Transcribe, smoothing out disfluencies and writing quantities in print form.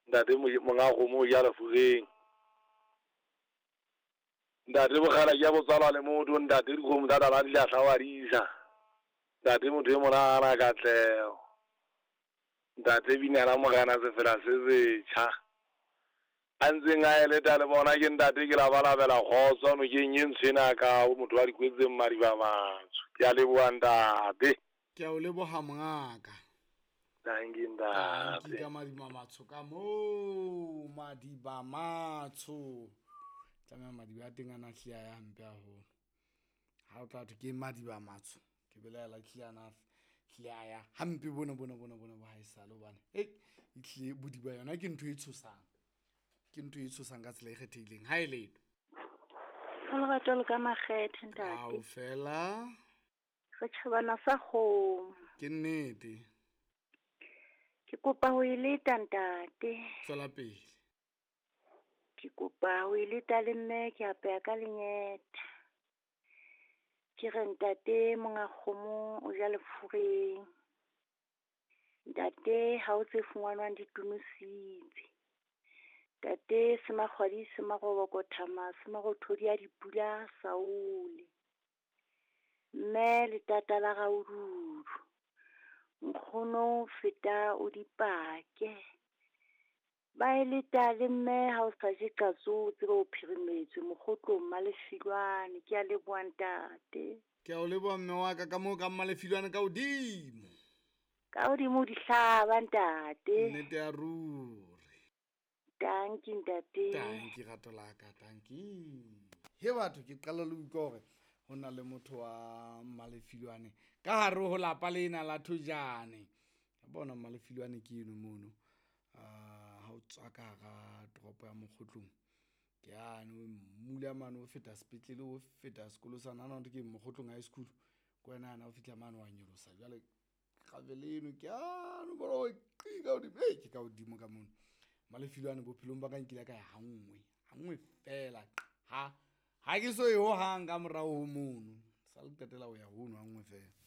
Ntate monga kgomo o ja lefureng. Ntate bokgala ke ya botswalwa le motho, ntate dikgomo tsa tala di lahla wa di isa. Ntate motho e monana katleho. Ntate binela morena sefela se setjha. A ntseng a eleta le bona ke ntate ke labalabela kgotso nokeng e ntsho ena ka ho motho wa dikwetseng madiba matsho. Ke a leboha ntate. Ke a o leboha mongaka. Dankie ntate. Dankie ka madiba matsho ka moo madiba matsho. Tlameha madiba a teng a na hlile a ya hampe haholo. Ha o tla thwe ke madiba matsho ke belaela hlile a na hlile a ya hampe bona bona bona bona bo haesale hobane e hlile bodiba yona ke ntho e tshosang. Ke ntho e tshosang ka tsela e kgethehileng. Ha e letho. Lerato le ka makgethe ntate. Kaofela. Re tjhabana sa kgomo. Ke nnete. Ke kopa ho e leta ntate. Tswela pele. Ke kopa ho e leta le mme ke apeha ka lenyetha. Ke re ntate monga kgomo o ja lefureng. Ntate ha o tse fumanwang di tonositse. Ntate semakgwadi se maroboko thama se marothodi a dipula saole. Mme letata la raududu. Nkgono feta o dipake. Ba e leta le mme ha o sa je qatso o tsebe o phirimetswe mokgotlong Mmalefilwane. Ke a leboha ntate. Ke a o leboha mme wa ka ka moo ka Mmalefilwane ka hodimo. Ka hodimo dihlaba ntate. Nnete ya ruri. Dankie ntate. Dankie rato la ka, dankie. He batho ke qala le utlwa hore ho na le motho wa Mmalefilwane ka hare ho lapa lena la Thojane. Bona Mmalefilwane ke eno mono. Ha o tswa ka hara toropo ya Mokgotlong ke yane o mmula mane o feta sepetlele o feta sekolo sa nana ke Mokgotlong High School. Ke wena yana o fihla mane wa nyolosa jwale gravele eno ke yane o bona hore qi ka hodimo. Ei, ke ka hodimo ka mono. Mmalefilwane bophelong ba ka nkile ka ya hanngwe, hanngwe fela ha ha ke so ye hohang ka morao ho mono. Sa le qetela ho ya hono hanngwe fela.